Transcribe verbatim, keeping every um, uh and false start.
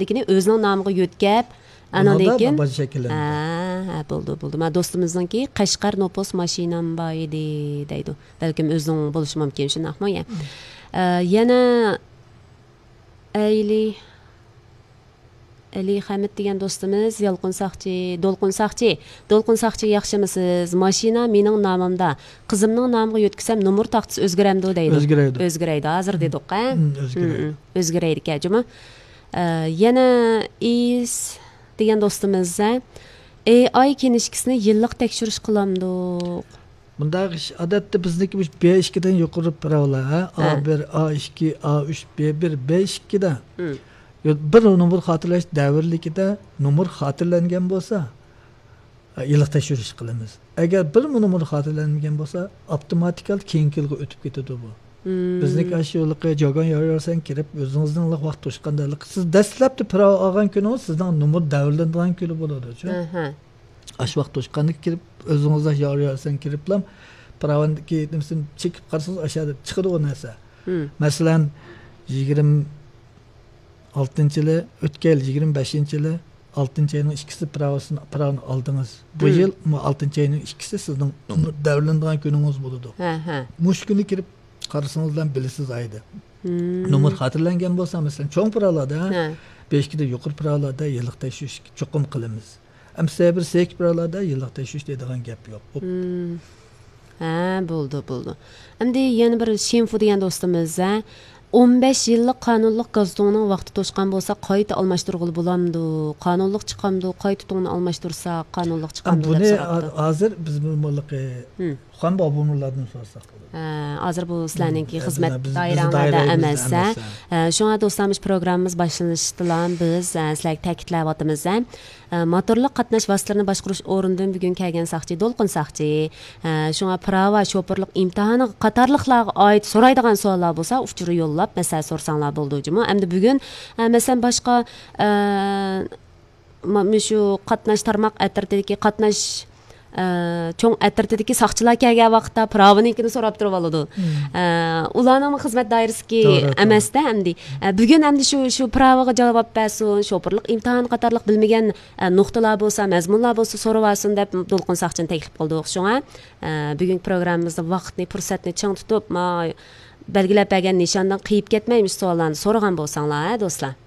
لېكىن ئۆزىنىڭ نامىغا يۆتكەپ، ئانىڭدىن كېيىن باجا شەكىللەندى. ھە، ھە، بولدى، بولدى. مانا دوستىمىزنىڭكى قەشقەر نوپۇس ماشىنام بار ئىدى دەيدۇ. بەلكىم ئۆزىنىڭ بولۇشى مۇمكىن، شۇنداقمۇ يا؟ ئە، يەنە ئەيلى، ئەلى خەمىت دېگەن دوستىمىز، يالقۇن ساقچى، دولقۇن ساقچى، دولقۇن ساقچى، ياخشىمۇسىز؟ ماشىنا مېنىڭ نامىمدا، قىزىمنىڭ نامىغا يۆتكىسەم، نومۇر تاختىسى ئۆزگىرەمدۇ دەيدۇ. ئۆزگىرەيدۇ. ئۆزگىرەيدۇ، ھازىر دېدۇق، ھە؟ ئۆزگىرەيدۇ. ئۆزگىرەيدىكەن، جۇمۇ. ئە، يەنە ئىس دېگەن دوستىمىز، ھە؟ ئېي ئاي كىنىشكىسىنى يىللىق تەكشۈرۈش قىلامدۇق؟ بۇنداق ئىش، ئادەتتە بىزنىڭكى مۇشۇ بې ئىككىدىن يۇقىرى پىراۋىلار، ھە؟ ئا بىر، ئا ئىككى، ئا ئۈچ، بې بىر، بې ئىككىدە. بىر نومۇر خاتىرىلەش دەۋرلىكىدە نومۇر خاتىرىلەنگەن بولسا، يىللىق تەكشۈرۈش قىلىمىز. ئەگەر بىرمۇ نومۇر خاتىرىلەنمىگەن بولسا، ئاپتوماتىكالىق كېيىنكى يىلغا ئۆتۈپ كېتىدۇ بۇ. بىزنىكى ئاشۇ يىلقى جاگان ياريارسەن كىرىپ، ئۆزىڭىزنىڭ ۋاقىت توشقاندا، سىز دەسلەپتە پىراۋا ئالغان كۈنىڭىز سىزنىڭ نومۇر دەۋرلىنىدىغان كۈنى بولىدۇچۇ. ئاشۇ ۋاقىت توشقاندا كىرىپ، ئۆزىڭىزلا ياريارسەن كىرىپلا پىراۋاندىكى نېمىسىنى چېكىپ قارىسىڭىز، ئاشۇيەردە چىقىدۇ ئۇ نەرسە. مەسىلەن، يىگىرمە ئالتىنچى يىلى، ئۆتكەن يىل يىگىرمە بەشىنچى يىلى، ئالتىنچى ئاينىڭ ئىككىسى پىراۋىسىنى، پىراۋىنى ئالدىڭىز. بۇ يىل مۇ ئالتىنچى ئاينىڭ ئىككىسى سىزنىڭ نومۇر دەۋرلىنىدىغان كۈنىڭىز بولىدۇ. مۇشۇ كۈنى كىرىپ قارىسىڭىزلا بىلىسىز ئايدا. نومۇر خاتىرىلەنگەن بولسا، مەسىلەن، چوڭ پىراۋلاردا بېشىكىدە يۇقىرى پىراۋلاردا يىللىق تەكشۈرۈش چوقۇم قىلىمىز. ئەمسە بىر سېكى پىراۋلاردا يىللىق تەكشۈرۈش دەيدىغان گەپ يوق. ھە، بولدى، بولدى. ئەمدى يەنە بىر شىنفۇ دېگەن دوستىمىز، ھە، ئون بەش يىللىق قانۇنلۇق گاز تۇڭنىڭ ۋاقتى توشقان بولسا، قايتا ئالماشتۇرغىلى بولامدۇ؟ قانۇنلۇق چىقامدۇ؟ قايتا تۇڭنى ئالماشتۇرساق، قانۇنلۇق چىقامدۇ؟ دەپ بۇنى سوراپتۇ. ھازىر بىز بۇ مۇلىقى خان بابۇمۇرلاردىن سورىساق بولىدۇ. ھە، ھازىر بۇ سىلەرنىڭكى خىزمەت دائىرەڭلەردە ئەمەس، ھە. شۇڭا دوستلار، مۇشۇ پروگراممىمىز باشلىنىشتىلا بىز، ھە، سىلەرگە تەكىتلەۋاتىمىز، ھە. ئە، موتورلۇق قاتناش ۋاسىتىلىرىنى باشقۇرۇش ئورنىدىن بۈگۈن كەلگەن ساقچى، دولقۇن ساقچى. ئە، شۇڭا پىراۋا، شوپۇرلۇق ئىمتىھانى قاتارلىقلارغا ئائىت سورايدىغان سوئاللار بولسا، ئۇچۇر يوللاپ، مەسىلە سورىساڭلار بولىدۇ جۇمۇ. ئەمدى بۈگۈن، ئە، مەسىلەن، باشقا، ئە، ما-، مۇشۇ قاتناش تارماق ئەترىتىدىكى قاتناش، ئە، چوڭ ئەترىتىدىكى ساقچىلار كەلگەن ۋاقىتتا پىراۋىنىڭكىنى سوراپ تۇرۇپ ئالىدۇ. ئە، ئۇلارنىڭمۇ خىزمەت دائىرىسىدىكى توغرا، توغرا. ئەمەستە ئەمدى. ئە، بۈگۈن ئەمدى شۇ، شۇ پىراۋىغا جاۋاب بەرسۇن، شوپۇرلۇق ئىمتىھانى قاتارلىق بىلمىگەن ئە، نۇقتىلار بولسا، مەزمۇنلار بولسا سورىۋالسۇن دەپ دولقۇن ساقچىنى تەكلىپ قىلدۇق. شۇڭا، ئە، بۈگۈنكى پروگراممىمىزدا ۋاقىتنى، پۇرسەتنى چىڭ تۇتۇپ، ما، بەلگىلەپ بەرگەن نىشاندىن قېيىپ كەتمەي، مۇشۇ سوئاللارنى سورىغان بولساڭلار، ھە، دوستلار.